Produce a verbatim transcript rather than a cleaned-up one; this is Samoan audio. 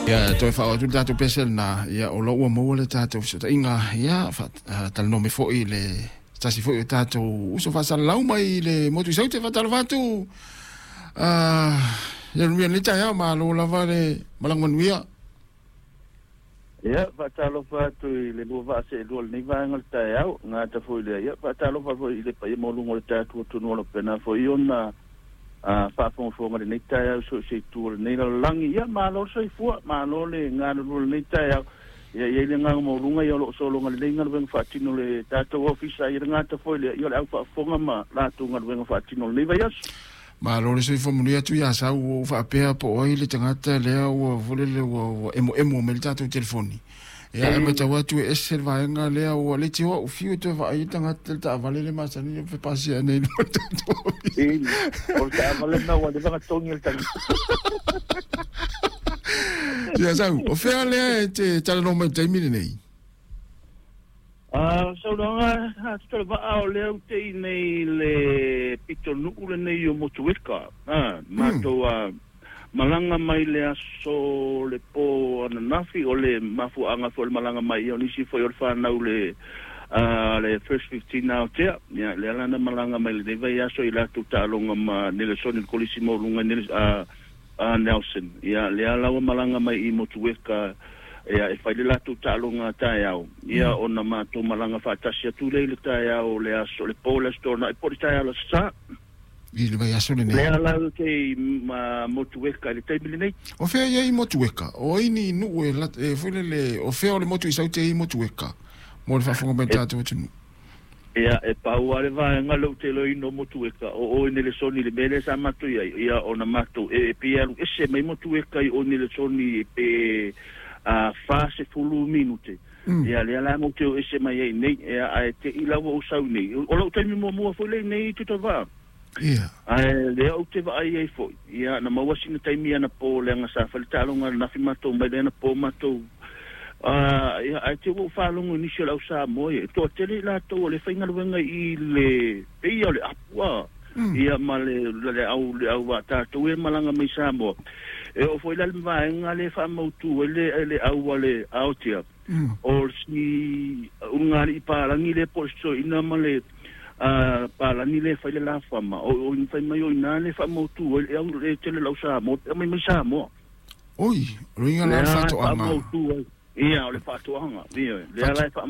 Ia, toe faaoo atu le tatou pese lenā, ia o lo ua maua le tatou fesootaiga, ia, faatalanoa mai foi le tasi foi o tatou uso faasalalau mai le motu i Saute. Faatalofa atu, Ieremia i lenei taeao, malo lava le malaga manuia. Ia, faatalofa atu i le lua vaa seelua i lenei vaega o le taeao, gata foi lea, ia, faatalofa foi i le paia maualuga o le tatou atunuu o lo o faapena foi ona faafogafoga i lenei taeao i so o se itu o lenei lalolagi. Ia, malo le soifua, malo le galulue i lenei taeao. Ia, e i ai le agaga maualuga ia o lo o sologa lelei galuega faatino le tatou ofisa, ia le gata foi lea, ia o le au faafofoga ma latou galuega faatino i lenei vaiaso. Malo le soifua manuia atu ia Sau, ua ou faapea po o ai le tagata lea ua foi lele ua ua emoemo mai le tatou telefoni. Ia ae matau atu e ese le vaega lea ua le tioa ou fiu e toe vaai ai le tagata i le taavale le masani e pasia nei i luma o le tatou ofisa. O le taavale lena ua leva ona togi e le tagata. Ia Sau, o fea lea e te talanoa mai i le taimi lenei? A saunoaga a Tutola Vaa o lea ou te i nei i le pitonuu lenei o Motueka, a, matou a malaga mai le aso le po ananafi, o le mafuaaga foi o le malaga mai ia o nisi foi o le fanau le a le First Fifteen Aotea, ia lea la na malaga mai lenei vaiaso i latou taaloga ma Nelesoni le Kolisi Maualuga i Neles a a Nelson, ia lea la ua malaga mai i Motueka ia e fai le latou taaloga taeao, ia ona matou malaga faatasi atu lea i le taeao o le aso le po o le Aso Toonai po o le taeao o le Aso Sa. I le vaiaso lenei. Lea la ou te i Motueka i le taimi lenei. O fea i ai Motueka? O ai ni nuu e e foi lele, o fea o le motu i Saute i Motueka mo le faafofoga mai o le tatou atunuu? Ia, e pau lava le vaega lea ou te iloaina o Motueka, o o i Nelesoni i le mea lea sa matou i ai, ia ona matou, e, e pei e alu ese mai Motueka i o i Nelesoni pe a fa sefulu minute, mm. Ia lea la matou te o ese mai ai i nei, ia, ae te i la ua ou sau nei. O lou taimi muamua foi lea i nei Tuitavaa. Ia. Ae lea ou te vaai ai foi, ia, na maua sina taimi anapo leaga sa fai le taaloga ananafi matou mai le anapo matou. Uh, ia, ae te ua ou faalogo i nisi o le au Samoa, ia, e toatele i latou o le faigaluega i le peia o le apu, a, mm. Ia, ma le, le au, le au a tatou e malaga mai Samoa. E oo foi la le vaega le faamautu ai le, le au a le Aotea, mm. O si ulugalii palagi le po o le soina ma le uh, palagi le fai le lafama, o, o fai mai o ina le faamautu ai le au le tele lau Samoa, e mai mai Samoa. Oi, o luiga la le faatoaga. Ia, o le faatoaga, ia, lea la e faamautu.